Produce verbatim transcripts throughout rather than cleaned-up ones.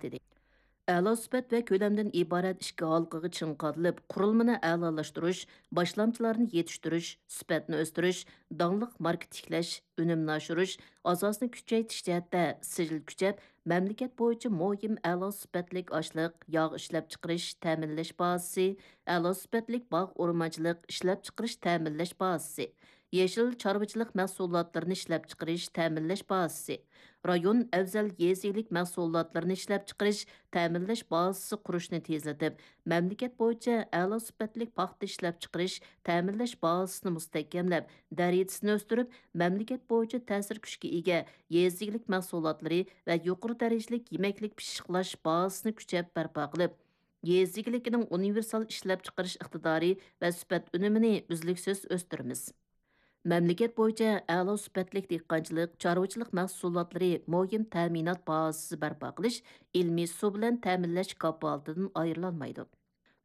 دېدى. ئەلا سۈپەت ۋە كۆلەمدىن ئىبارەت ئىككى ھالقىغا چىڭ قادىلىپ، قۇرۇلمىنى ئەلالاشتۇرۇش، باشلامچىلارنى يېتىشتۈرۈش، سۈپەتنى ئۆستۈرۈش، داڭلىق ماركا تىكلەش، ئۈنۈمنى ئاشۇرۇش، ئاساسنى كۈچەيتىش جەھەتتە سىجىل كۈچەپ، مەملىكەت بويىچە مۇھىم ئەلا سۈپەتلىك ئاشلىق، ياغ ئىشلەپچىقىرىش، تەمىنلەش بازىسى، ئەلا سۈپەتلىك باغ ئورمانچىلىق ئىشلەپچىقىرىش، تەمىنلەش بازىسى، يېشىل چارۋىچىلىق مەھسۇلاتلىرىنى ئىشلەپچىقىرىش، تەمىنلەش بازىسى، رايون ئەۋزەل يېزا ئىگىلىك مەھسۇلاتلىرىنى ئىشلەپچىقىرىش، تەمىنلەش بازىسى قۇرۇشنى تېزلىتىپ، مەملىكەت بويىچە ئەلا سۈپەتلىك پاختا ئىشلەپچىقىرىش، تەمىنلەش بازىسىنى مۇستەھكەملەپ، دەرىجىسىنى ئۆستۈرۈپ، مەملىكەت بويىچە تەسىر كۈچكە ئىگە يېزا ئىگىلىك مەھسۇلاتلىرى ۋە يۇقىرى دەرىجىلىك يېمەكلىك پىششىقلاش بازىسىنى كۈچەپ بەرپا قىلىپ، يېزا ئىگىلىكىنىڭ ئۇنىۋېرسال ئىشلەپچىقىرىش ئىقتىدارى ۋە سۈپەت ئۈنۈمىنى ئۈزلۈكسىز ئۆستۈرىمىز. مەملىكەت بويىچە ئەلا سۈپەتلىك دېھقانچىلىق، چارۋىچىلىق مەھسۇلاتلىرى مۇھىم تەمىنات بازىسى بەرپا قىلىش، ئىلمىي سۇ بىلەن تەمىنلەش كاپالىتىدىن ئايرىلالمايدۇ.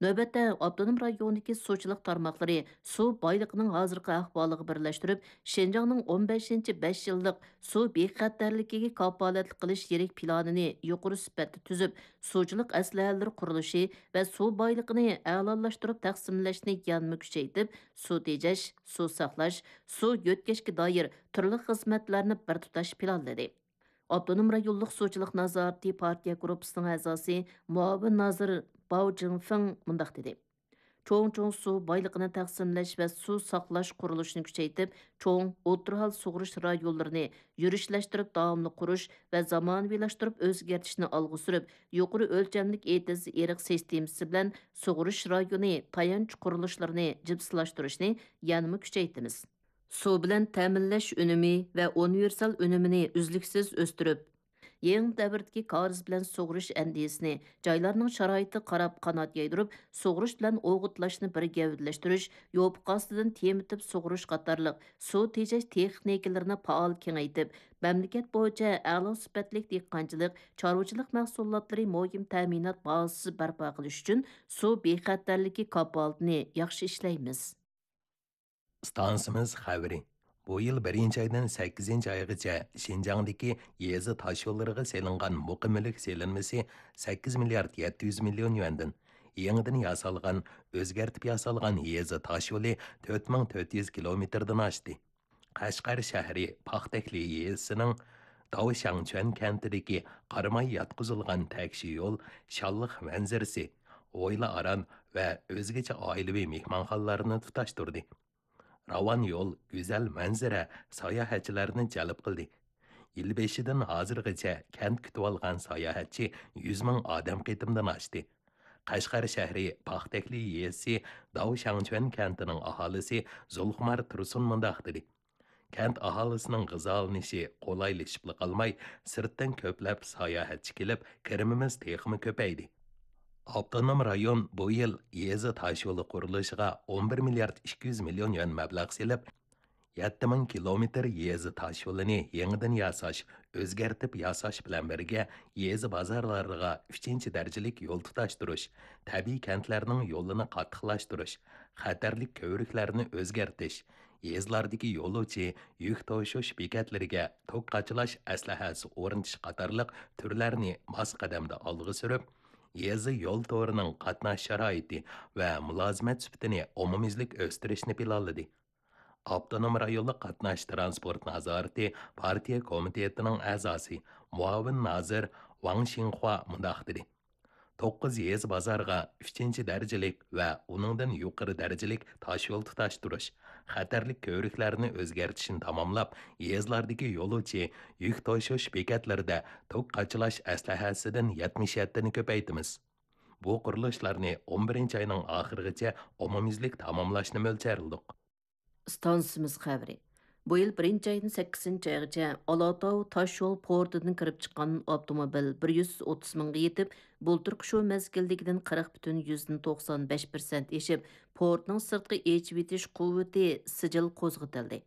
نۆۋەتتە، ئاپتونوم رايوندىكى سۇچىلىق تارماقلىرى سۇ بايلىقىنىڭ ھازىرقى ئەھۋالىغا بىرلەشتۈرۈپ، شىنجاڭنىڭ ئون بەشىنچى بەش يىللىق سۇ بىخەتەرلىكىگە كاپالەتلىك قىلىش يىرىك پىلانىنى يۇقىرى سۈپەتتە تۈزۈپ، سۇچىلىق ئەسلىھەلىرى قۇرۇلۇشى ۋە سۇ بايلىقىنى ئەلالاشتۇرۇپ تەقسىملەشنى يەنىمۇ كۈچەيتىپ، سۇ تېجەش، سۇ ساقلاش، سۇ يۆتكەشكە دائىر تۈرلۈك خىزمەتلەرنى بىر تۇتاش پىلانلىدى. ئاپتونوم رايونلۇق سۇچىلىق نازارىتى پارتىيە گۇرۇپپىسىنىڭ ئەزاسى، مۇئاۋىن نازىر باۋ جىڭفېڭ مۇنداق دېدى: چوڭ-چوڭ سۇ بايلىقىنى تەقسىملەش ۋە سۇ ساقلاش قۇرۇلۇشىنى كۈچەيتىپ، چوڭ، ئوتتۇرا ھال سۇغىرىش رايونلىرىنى يۈرۈشلەشتۈرۈپ داۋاملىق قۇرۇش ۋە زامانىۋىلاشتۇرۇپ ئۆزگەرتىشنى ئالغا سۈرۈپ، يۇقىرى ئۆلچەملىك ئېتىز ئېرىق سىستېمىسى بىلەن سۇغىرىش رايونى تايانچ قۇرۇلۇشلىرىنى جىپسىلاشتۇرۇشنى يەنىمۇ كۈچەيتىمىز. سۇ بىلەن تەمىنلەش ئۈنۈمى ۋە ئۇنىۋېرسال ئۈنۈمىنى ئۈزلۈكسىز ئۆستۈرۈپ، يېڭى دەۋردىكى كارىز بىلەن سۇغىرىش ئەندىزىسىنى، جايلارنىڭ شارائىتىغا قاراپ قانات يايدۇرۇپ، سۇغىرىش بىلەن ئوغۇتلاشنى بىر گەۋدىلەشتۈرۈش، يوپۇرغا ئاستىدىن تېمىتىپ سۇغىرىش قاتارلىق سۇ تېجەش تېخنىكىلىرىنى پائال كېڭەيتىپ، مەملىكەت بويىچە ئەلا سۈپەتلىك دېھقانچىلىق، چارۋىچىلىق مەھسۇلاتلىرى مۇھىم تەمىنات بازىسى بەرپا قىلىش ئۈچۈن سۇ بىخەتەرلىكى كاپالىتىنى ياخشى ئىشلەيمىز. ئىستانسىمىز خەۋىرى. بۇ يىل بىرىنچى ئايدىن سەككىزىنچى ئايغىچە شىنجاڭدىكى يېزا تاشيوللىرىغا سېلىنغان مۇقىم مۈلۈك سېلىنمىسى سەككىز مىليارد يەتتە يۈز مىليون يۈەندىن، يېڭىدىن ياسالغان، ئۆزگەرتىپ ياسالغان يېزا تاشيولى تۆت مىڭ تۆت يۈز كىلومېتىردىن ئاشتى. قەشقەر شەھىرى پاختەكلى يېزىسىنىڭ داۋشاڭچۈەن كەنتىدىكى قاراماي ياتقۇزۇلغان تەكشى يول شانلىق مەنزىرىسى، ھويلا ئاران ۋە ئۆزگىچە ئائىلىۋى مېھمانخانىلارنى تۇتاشتۇردى. راۋان يول، گۈزەل مەنزىرە ساياھەتچىلەرنى جەلپ قىلدى. يىل بېشىدىن ھازىرغىچە كەنت كۈتۈۋالغان ساياھەتچى يۈز مىڭ ئادەم قېتىمدىن ئاشتى. قەشقەر شەھىرى پاختەكلى يېزىسى داۋشاڭچۈەن كەنتىنىڭ ئاھالىسى زۇلخۇمار تۇرسۇن مۇنداق دېدى: كەنت ئاھالىسىنىڭ غىزالىنىشى قولايلىشىپلا قالماي، سىرتتىن كۆپلەپ ساياھەتچى كېلىپ، كىرىمىمىز تېخىمۇ كۆپەيدى. ئاپتونوم رايون بۇ يىل يېزا تاشيولى قۇرۇلۇشىغا ئون بىر مىليارد ئىككى يۈز مىليون يۈەن مەبلەغ سېلىپ، يەتتە مىڭ كىلومېتىر يېزا تاشيولىنى يېڭىدىن ياساش، ئۆزگەرتىپ ياساش بىلەن بىرگە، يېزا بازارلىرىغا ئۈچىنچى دەرىجىلىك يول تۇتاشتۇرۇش، تەبىئىي كەنتلەرنىڭ يولىنى قاتتىقلاشتۇرۇش، خەتەرلىك كۆۋرۈكلەرنى ئۆزگەرتىش، يېزىلاردىكى يولۇچى يۈك توشۇش بېكەتلىرىگە توك قاچىلاش ئەسلىھەسى ئورنىتىش قاتارلىق تۈرلەرنى ماس قەدەمدە ئالغا سۈرۈپ، يېزا يول تورىنىڭ قاتناش شارائىتى ۋە مۇلازىمەت سۈپىتىنى ئومۇميۈزلۈك ئۆستۈرۈشنى پىلانلىدى. ئاپتونوم رايونلۇق قاتناش تىرانسپورت نازارىتى پارتىيە كومىتېتىنىڭ ئەزاسى، مۇئاۋىن نازىر ۋاڭ شىڭخۇا مۇنداق دېدى: توققۇز يېزا بازارغا ئۈچىنچى دەرىجىلىك ۋە ئۇنىڭدىن يۇقىرى دەرىجىلىك تاشيول تۇتاشتۇرۇش، خەتەرلىك كۆۋرۈكلەرنى ئۆزگەرتىشنى تاماملاپ، يېزىلاردىكى يولۇچى يۈك توشۇش بېكەتلىرىدە توك قاچىلاش ئەسلىھەسىدىن يەتمىش يەتتىنى كۆپەيتىمىز. بۇ قۇرۇلۇشلارنى ئون بىرىنچى ئاينىڭ ئاخىرىغىچە ئومۇميۈزلۈك تاماملاشنى مۆلچەرلىدۇق. ئىستانسىمىز خەۋىرى. بۇ يىل بىرىنچى ئايدىن سەككىزىنچى ئايغىچە ئالاتاۋ تاشيول پورتىدىن كىرىپ چىققان ئاپتوموبىل بىر يۈز ئوتتۇز مىڭغا يېتىپ، بۇلتۇرقى شۇ مەزگىلدىكىدىن قىرىق پۈتۈن يۈزدىن توقسان بەش پىرسەنت ئېشىپ، پورتنىڭ سىرتقى ئېچىۋېتىش قۇۋۋىتى سىجىل قوزغىتىلدى.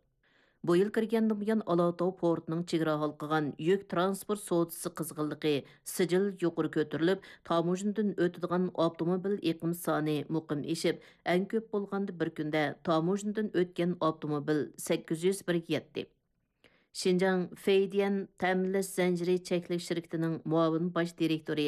بۇ يىل كىرگەندىن بۇيان، ئالاتاۋ پورتىنىڭ چېگرا ھالقىغان يۈك تىرانسپورت سودىسى قىزغىنلىقى سىجىل يۇقىرى كۆتۈرۈلۈپ، تاموژنىدىن ئۆتىدىغان ئاپتوموبىل ئېقىم سانى مۇقىم ئېشىپ، ئەڭ كۆپ بولغاندا بىر كۈندە تاموژنىدىن ئۆتكەن ئاپتوموبىل سەككىز يۈز بىرگە يەتتى. شىنجاڭ فېيديەن تەمىنلەش زەنجىرى چەكلىك شىركىتىنىڭ مۇئاۋىن باش دىرېكتورى